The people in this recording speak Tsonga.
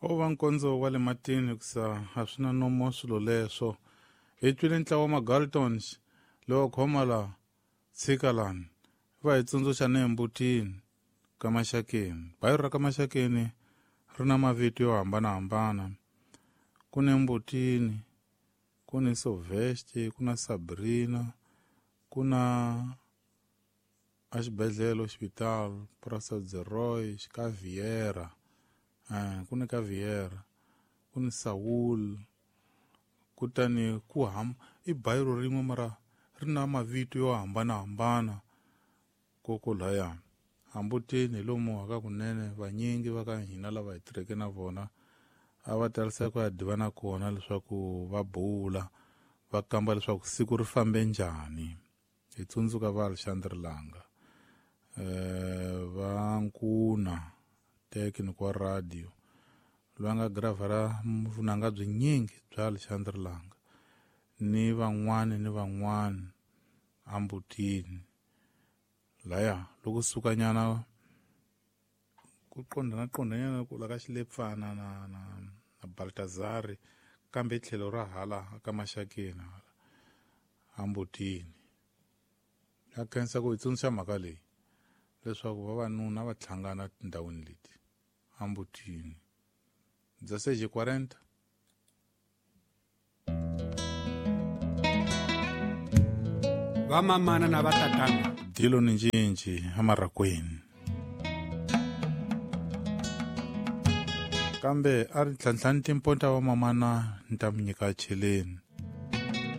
O va nkondzo wa le matini hikusa a swi na nomo swilo leswo. Hi twile ntlawa wa Magaltons lowo khoma la tshika lani va hi tsundzuxa ni embutini ka Maxakeni. Bayiro ra ka Maxakeni ri na mavito yo hambanahambana. Ku ni Mbutini, ku ni Soveste, ku na Sabrina, ku na a xibedhlele hospital Praça de Roy ka Vieira. Ku ni ka Vieira, ku ni Saul, kutani ku ham i bayiro rin'we mara ri na mavito yo hambanahambana koko laya. Hambutini hi lomu haka kunene vanyingi va ka hina lava hi tirheke na vona a va talisa ku ya divana kona leswaku va bula va kamba leswaku siku ri fambe njhani. Hi tsundzuka va Alexandre Langa, va Nkuna technical wa radio loyi a nga gravhara vunanga byinyingi bya Alexandre Langa ni van'wani ni van'wani ambutini laya loko sukanyana ku qondana qondanyana ku la ka Xilepfana na na na Baltazari kambe tlhelo ra hala ka Maxakeni hala ambutini. Ya khensa ku hi tsundzuxa mhaka leyi leswaku vavanuna va hlangana tindhawini leti ambutini. 16:40. Vamamana na vatatana. Dilo ni ncinci emarakweni. Kambe a ri ntlhantlhani timponta va mamana ni ta mi nyika cheleni.